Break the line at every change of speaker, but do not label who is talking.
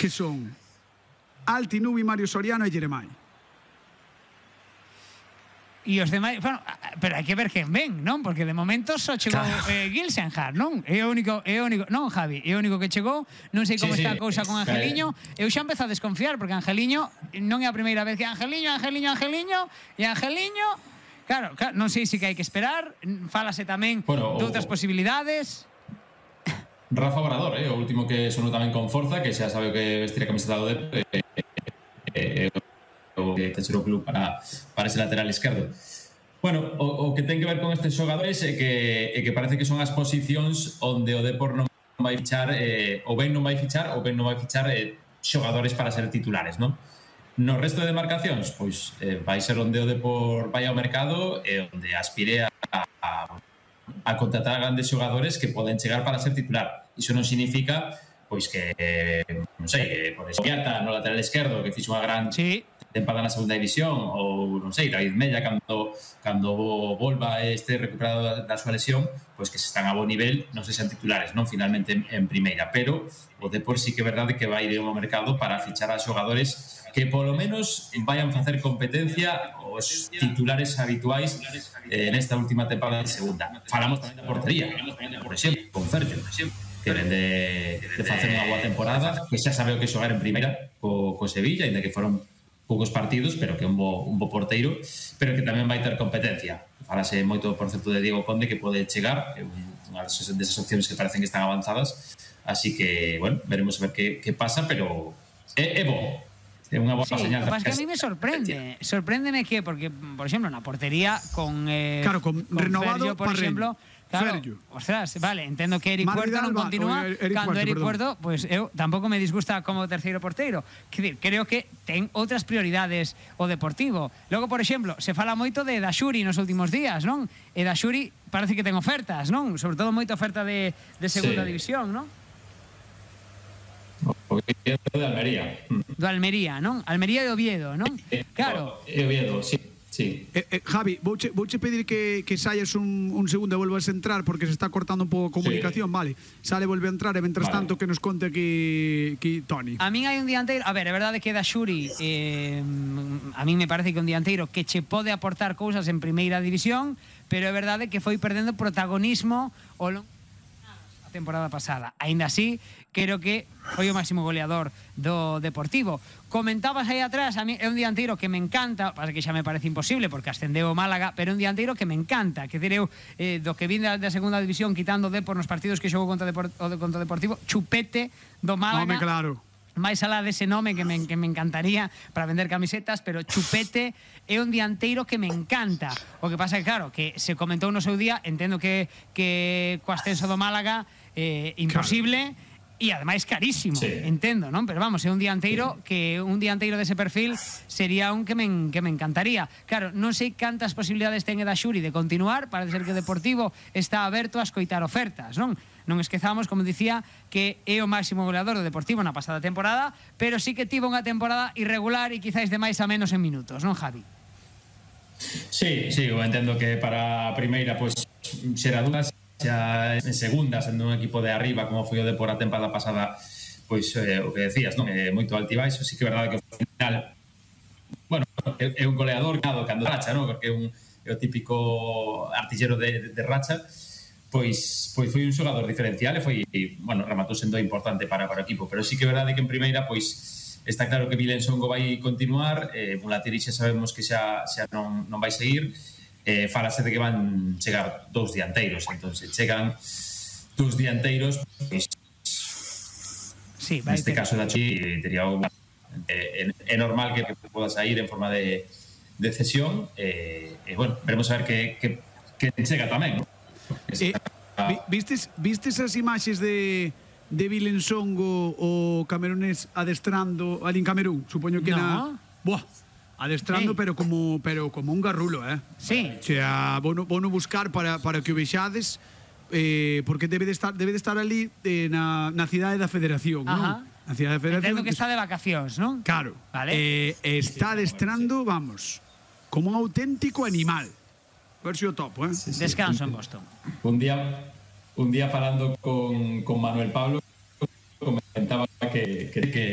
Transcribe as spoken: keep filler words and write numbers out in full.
que son Alti, Nubi, Mario Soriano e Jeremai.
E os demais, bueno, pero hai que ver quen ven, non? Porque de momento só chegou claro. eh, Gilsenhard, non? É o único, é o único, non, Javi, é o único que chegou. Non sei como sí, está sí. a cousa con Angeliño. Eu xa empezo a desconfiar porque Angeliño non é a primeira vez que Angeliño, Angeliño, Angeliño e Angeliño, claro, claro, non sei se que hai que esperar. Fálase tamén bueno, de outras posibilidades.
Rafa Obrador, eh, o último que sonou tamén con forza, que xa sabe o que vestir a camiseta do Dep, eh, eh, eh, o que terceiro club para, para ese lateral esquerdo. Bueno, o, o que ten que ver con estes xogadores é que, é que parece que son as posicións onde o Depor non vai fichar, eh, ou ben non vai fichar, ou ben non vai fichar eh, xogadores para ser titulares, non? No resto de demarcacións, pois eh, vai ser onde o Depor vai ao mercado e onde aspire a, a, a contratar grandes xogadores que poden chegar para ser titular. Iso non significa pois que, eh, non sei, que por Esquiata no lateral esquerdo, que fixo unha gran sí. tempada na segunda división, ou non sei, David Mella cando, cando volva este recuperado da, da súa lesión, pois que se están a bo nivel, non sei se sean titulares, non finalmente en, en primeira, pero o Depor sí que é verdade que vai ir ao mercado para fichar a xogadores que polo menos vayan facer competencia os titulares habituais eh, nesta última tempada de segunda. Falamos tamén da portería, por exemplo, con Ferjo, que ven de, de facer unha boa temporada, que xa sabe o que xogar en primeira co, co Sevilla, ainda que foron poucos partidos, pero que é un bo, un bo porteiro, pero que tamén vai ter competencia. Falase moito, por certo, de Diego Conde, que pode chegar, é unha desas opcións que parecen que están avanzadas, así que, bueno, veremos a ver que, que pasa, pero é, é bo. É unha boa
sí,
señal.
Mas que a mí me sorprende. Sorpréndeme que, porque, por exemplo, na portería con eh,
claro, con, con renovado
Ferjo, por exemplo, claro,
Ferjo.
Ostras, vale, entendo que Eric Puerto non continúa, Eric cando Eric Puerto, pois pues, eu tampouco me disgusta como terceiro porteiro. Quer dizer, creo que ten outras prioridades o Deportivo. Logo, por exemplo, se fala moito de Daxuri nos últimos días, non? E Daxuri parece que ten ofertas, non? Sobre todo moita oferta de, de segunda sí. división, non?
O de Almería.
Do Almería, non? Almería e Oviedo, non? Claro.
E Oviedo, sí. Sí.
Eh, eh, Javi, vouche, vouche pedir que, que saias un, un segundo e volvas a entrar porque se está cortando un pouco a comunicación, sí. Vale. Sale, volve a entrar e mentras vale. tanto que nos conte aquí, aquí Toni.
A min hai un dianteiro, a ver, é verdade que Daxuri eh, a min me parece que un dianteiro que che pode aportar cousas en primeira división, pero é verdade que foi perdendo protagonismo ao longo temporada pasada. Ainda así, creo que foi o máximo goleador do Deportivo. Comentabas aí atrás, a mí é un dianteiro que me encanta, pasa que xa me parece imposible porque ascendeu o Málaga, pero é un dianteiro que me encanta, que dir eu eh, do que vin da, da segunda división quitando o Depor nos partidos que xogou contra, Depor, o contra o Deportivo, Chupete do Málaga.
Home, claro.
máis alá dese nome que me, que me encantaría para vender camisetas, pero Chupete é un dianteiro que me encanta. O que pasa é que, claro, que se comentou no seu día, entendo que, que co ascenso do Málaga eh, imposible, claro. E ademais carísimo, sí. Entendo, non? Pero vamos, é un dianteiro que un dianteiro dese perfil sería un que me, que me encantaría. Claro, non sei cantas posibilidades ten Daxuri de continuar, parece ser que o Deportivo está aberto a escoitar ofertas, non? Non esquezamos, como dicía, que é o máximo goleador do Deportivo na pasada temporada, pero sí que tivo unha temporada irregular e quizáis de máis a menos en minutos, non, Javi?
Sí, sí, eu entendo que para a primeira, pois, pues, será dudas, xa en segunda, sendo un equipo de arriba como foi o Depor a temporada pasada, pois eh, o que decías, non? É moito altibaixo, sí que é verdade que ao final, bueno, é, é un goleador cando, cando racha, non? Porque é un é o típico artillero de, de, de racha, pois pois foi un xogador diferencial e foi, bueno, rematou sendo importante para, para o equipo, pero sí que é verdade que en primeira, pois está claro que Vilen Songo vai continuar, eh, Mulatiri xa sabemos que xa, xa non, non vai seguir. Eh, falase de que van chegar dous dianteiros, entonces chegan dous dianteiros, pues,
sí,
neste caso da Chi tería un, eh, é normal que, que poda sair en forma de, de cesión, e eh, eh, bueno, veremos a ver que, que, que chega tamén, ¿no?
Eh, vistes, vistes as imaxes de de Vilensongo o camerunés adestrando ali en Camerún, supoño que
no.
na... Buah, adestrando, sí. pero como pero como un garrulo, eh?
Sí.
O sea, vou no, vou no buscar para, para que o vexades, eh, porque debe de estar debe de estar ali eh, na, na cidade da Federación, non? Na cidade da Federación.
Entendo que está de vacacións, non?
Claro.
Vale.
Eh, está adestrando, vamos, como un auténtico animal. A ver se o topo, eh?
Sí, sí. Descanso en Boston.
Un día un día falando con, con Manuel Pablo comentaba que, que, que